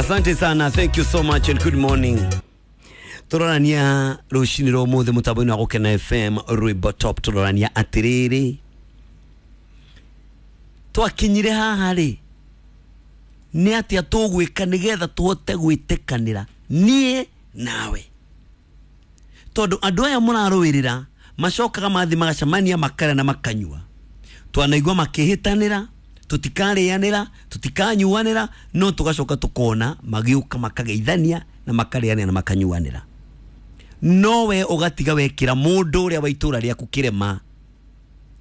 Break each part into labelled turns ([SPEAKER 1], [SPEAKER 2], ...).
[SPEAKER 1] Asante sana, thank you so much and good morning. Turorania rucini rwa umuthi mutambo-ini wa Gukena FM rwimbo top. Turorania atiriri, twakinyire haha ri, ni atia tugwika nigetha tuhote gwitikanira nie nawe, tondu andu aya murarũĩrĩra macokaga mathi magacemania makarĩa na makanyua. Twanaigua makĩhĩtanĩra, tutikarĩanĩra, tutikanyuanĩra, no tugacoka tukona magĩũka makageithania na makarĩanĩra na makanyuanĩra. No we ũgatiga wekĩra mũndũ ũrĩa wa itũra rĩaku kĩrema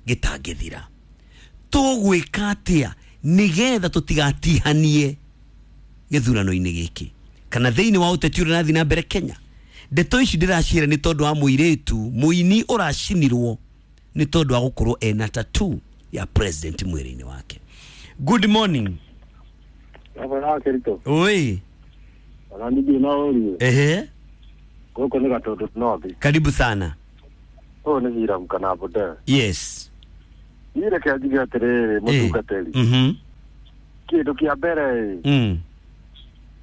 [SPEAKER 1] gĩtangĩthira. Tũgwĩka atĩa nĩgetha tũtigatihanie gĩthurano-inĩ gĩkĩ kana thĩinĩ wa ũteti ũrĩa ũrathiĩ na mbere Kenya? Ndeto ici ndĩraciĩra nĩ tondũ wa mũirĩtu mũini ũracinirwo nĩ tondũ wa gũkorwo ena tattoo ya president mwĩrĩ-inĩ wake. Good morning.
[SPEAKER 2] Baba Kirito.
[SPEAKER 1] Oi.
[SPEAKER 2] Ona ndigĩ no ũrie.
[SPEAKER 1] Ehe.
[SPEAKER 2] Gũkũ nĩ Gatũndũ North.
[SPEAKER 1] Karibu sana.
[SPEAKER 2] Ũyũ nĩ Hiram kana Bude.
[SPEAKER 1] Yes.
[SPEAKER 2] Niĩ reke njuge atĩrĩrĩ, mũtungatĩri. Kĩndũ kĩa mbere ĩ,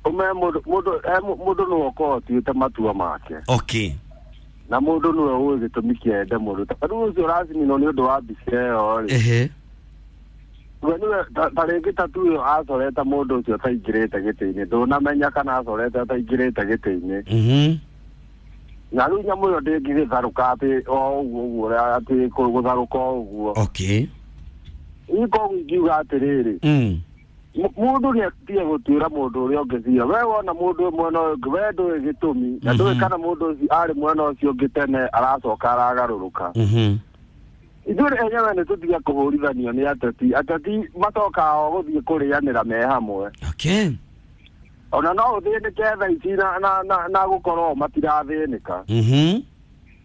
[SPEAKER 2] ũme mũndũ mũndũ mũndũ nĩwe ũkoragwo atuĩte matua make.
[SPEAKER 1] Okay.
[SPEAKER 2] Na mũndũ nĩwe ũĩ gĩtũmi kĩa ende mũndũ. Ta rĩu ũcio ũracinirwo nĩ ũndũ wa mbica ĩyo rĩ.
[SPEAKER 1] Ehe.
[SPEAKER 2] We nĩwe ta rĩngĩ tatu ĩyo acorete mũndũ ũcio ataingĩrĩte gĩtĩ-inĩ. Ndũnamenya kana acorete ataingĩrĩte gĩtĩ-inĩ. Na rĩu nyamũ ĩyo ndĩngĩgĩtharũka atĩ o ũguo ũguo atĩ gũtharũka o ũguo.
[SPEAKER 1] Okay.
[SPEAKER 2] Niĩ koguo ingiuga atĩrĩrĩ, mũndũ nĩ atige gũtuĩra mũndũ ũrĩa ũngĩ cira. We wona mũndũ mwena ũyũ ũngĩ, we ndũĩ gĩtũmi na ndũĩ kana mũndũ ũcio arĩ mwena ũcio ũngĩ tene aracoka aragarũrũka. Ithuĩ enyewe nĩ tũtige kũhũrithanio nĩ ateti. Ateti macokaga o gũthiĩ kũrĩanĩra me hamwe.
[SPEAKER 1] Okay.
[SPEAKER 2] Ona no ũthĩnĩke thaa ici na gũkorwo matirathĩnĩka.